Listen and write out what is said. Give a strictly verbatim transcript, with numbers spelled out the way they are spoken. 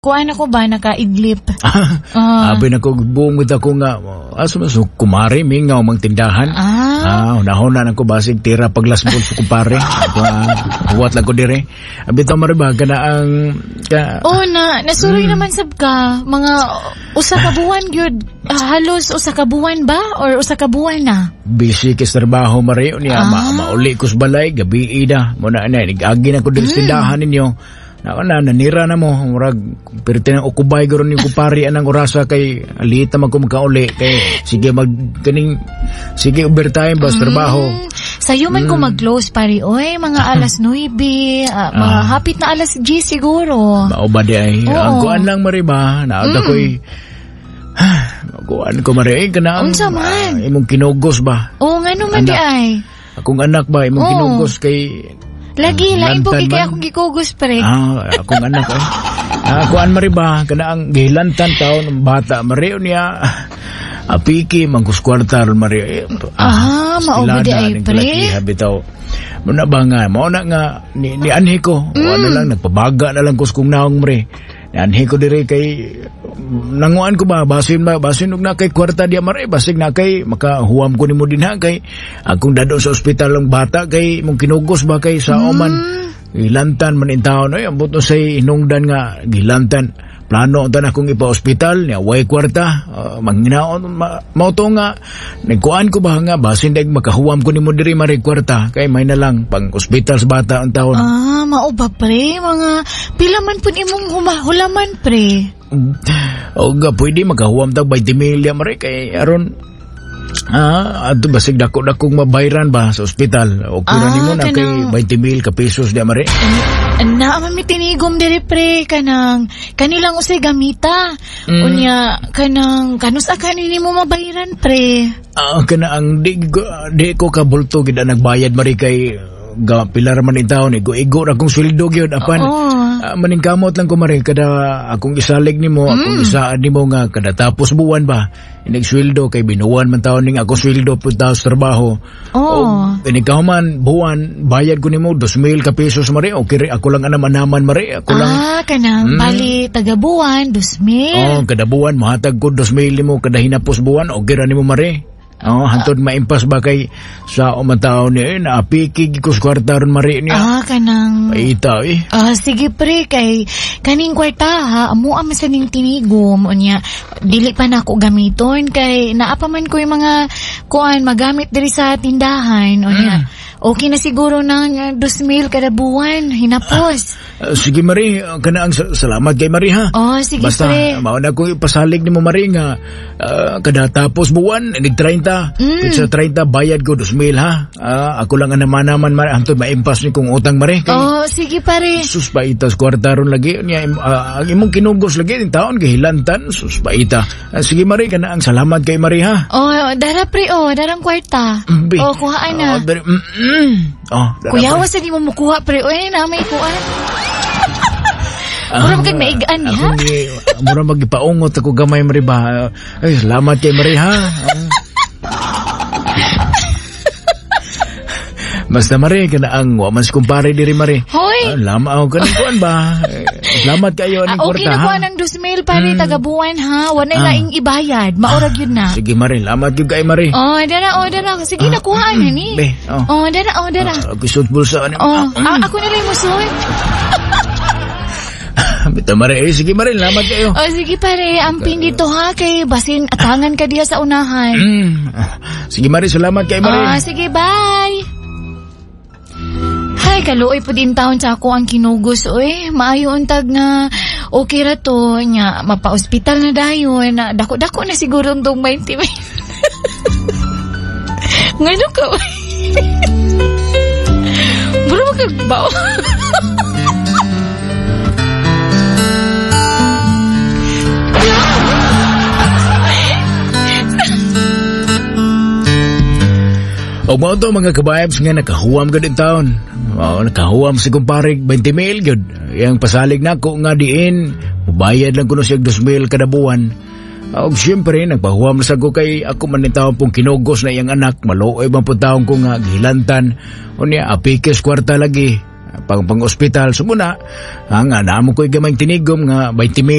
Kuan ako ba nakaidlip? Ah. Abi na ko bungod ako nga aso man so kumare mingaw mang tindahan. Ah. Ah, hunahuna na ko basig tira paglasbol sa kumpare. Ako ah, huwat lang ko dire. Abi to mare ba kana ang ka, Oh na nasuroy mm. naman sab ka mga usa ka buwan gyud. Ah, halos usa ka buwan ba or usa ka buwan na? Busy kay sa trabaho mare niya, Ah. ma mauli ko sa balay gabi ida. Mo na na nag-agi na ko diri sa tindahan ninyo. Nako na nanira na mo murag perti nang ukubay guro ni kumpare anang orasa kay alita man ko magkauli kay sige mag kaning sige overtime ba sa trabaho. Mm, sayo man ko mag-close pare oy, mga alas nuwebe, ah, mga Ah. hapit na alas diyes siguro. Mao ba di ay Oo. ang kuan lang mare ba naada mm. ko'y kuan ko mare eh, kana ang Unsa man? ah, imong kinugos ba? Oo, ngano man di Anak. ay. Akong anak ba imong Oo. kinugos kay Lagi, lain po Lantan kay man. akong gikugos pre. Ah, akong anak eh. Ah, kuan mare ba kana ang gihilantan taon ng bata mare niya. Apiki mangkus kwarta ron mare. Eh, Ah, mao ba di ay, ning pre? kalakiha bitaw. Muna ba nga, mao na nga ni, ni anhi ko. Mm. Ano lang nagpabaga na lang ko sa kong naong mare. Ni anhi ko dire kay nanguan ko ba basin ba basin og na kay kwarta diya mare basig na kay makahuwam ko nimo dinha kay akong dadon sa ospital ang bata kay imong kinugos ba kay sa oman gilantan man in taon ay ambot no say hinungdan nga gilantan plano unta na akong ipa-ospital niya way kwarta uh, manginaon ma, mao to nga nagkuan ko ba nga basin dag makahuwam ko nimo diri mare kwarta kay may na lang pang ospital sa bata ang taon. Ah, mao ba pre? Mga pila man pud imong huma- hulaman pre. O ga pwede makahuwam tag twenty million mare kay aron ah adto basig dako dakong mabayran ba sa ospital. Okay ra Ah, nimo na kay kanang- twenty mil ka pesos di mare. Na man mi tinigom diri pre kanang kanilang usay gamita. Mm. Unya kanang kanus kanini mo mabayran pre. Ah, kana ang di, di ko kabulto gid ang nagbayad mare kay ga pila ra man in taon igo igo ra akong sweldo gyud apan Oo. ah, maningkamot lang ko mare kada akong isalig nimo akong isaad nimo nga kada tapos buwan ba inig sweldo kay binuwan man taon ning ako sweldo pud sa trabaho. Oo. O, inikaw man buwan bayad ko nimo dos mil ka pesos mare okay re, ako lang anam-anaman mare ako lang. Ah, kanang Mm. bali taga buwan dos mil. Oh, kada buwan mohatag ko dos mil nimo kada hinapos buwan okay ra nimo mare. Oh, hantod maimpas ba kay sa umataon niya eh, naapiki ko sa kwarta ron mare niya. Ah, kanang Paita eh. Ah, sige pre kay kaning kwarta ha, amo ang masaning tinigom unya dili pa nako gamiton kay naa pa man ko yung mga kuan magamit diri sa tindahan unya. Okay na siguro nang uh, dos mil kada buwan hinapos. Ah, sige Mari, kana ang salamat kay Mari ha. Oh, sige Basta, pre. mao na ko ipasalig nimo Mari nga ah, kada tapos buwan inig treinta. Mm. Sa treinta bayad ko dos mil ha. Ah, ako lang ang naman-naman Mari hantod maimpas ni kong utang Mari. Kay, Oh, sige pare. Sus paita sa kwarta ron lagi niya uh, ang imong kinugos lagi ning taon gihilantan sus paita. Ah, sige Mari kana ang salamat kay Mari ha. Oh, dara pre oh, darang kwarta. Bi. Oh, kuhaan na. Oh, dari, mm, mm. Oh, dara, Kuya, pre. wasa di mo mukuha pre. Oy, na may kuan. Mura magkag naigaan ha? Akong gi- mura magipaungot ako gamay Mari ba. Ay, salamat kay Mari ha. Basta Mari kana ang wa man si kumpare diri Mari. Hoy. Ah, lama ako kaning kuan ba. Eh, salamat kayo Ah, aning okay kwarta na ha. kuha ng dos mil pare taga buwan ha. Wala Ah. laing ibayad. Maurag yun na. Sige Mari, salamat gyud kay Mari. Oh, dara, oh, dara. Sige, Ah, nakuha na ni. Be, oh. Oh, dara, oh, dara. Ah, gisod bulsa ani. Oh, ah, ako na lang musod. Bita Mari, eh, sige Mari, salamat kayo. Oh, sige pare, amping dito ha kay basin atangan ka diya sa unahan. Mm. Sige Mari, salamat kay Mari. Ah, sige, bye. Hay, kaluoy po din taon sa ako ang kinugos, oy. Maayo untag na okay ra to, nya mapa-ospital na dayon, na dako-dako na siguro ang dong twenty mil. Ngano ka, oy? Bro, magkagbaw. O mao to mga ka-vibes nga nakahuwam gud in taon. Oh, nakahuwam si kumpare twenty mil gud. Yang pasalig nako nga diin, mubayad lang kuno siya dos mil kada buwan. Og siyempre nagpahuwam sa ko kay ako man ni taon pong kinugos na iyang anak, maluoy man pud taon ko nga gihilantan. Unya apikes kwarta lagi. Pang pang ospital. So muna, ah, nga naamo ko'y gamay tinigom nga twenty mil.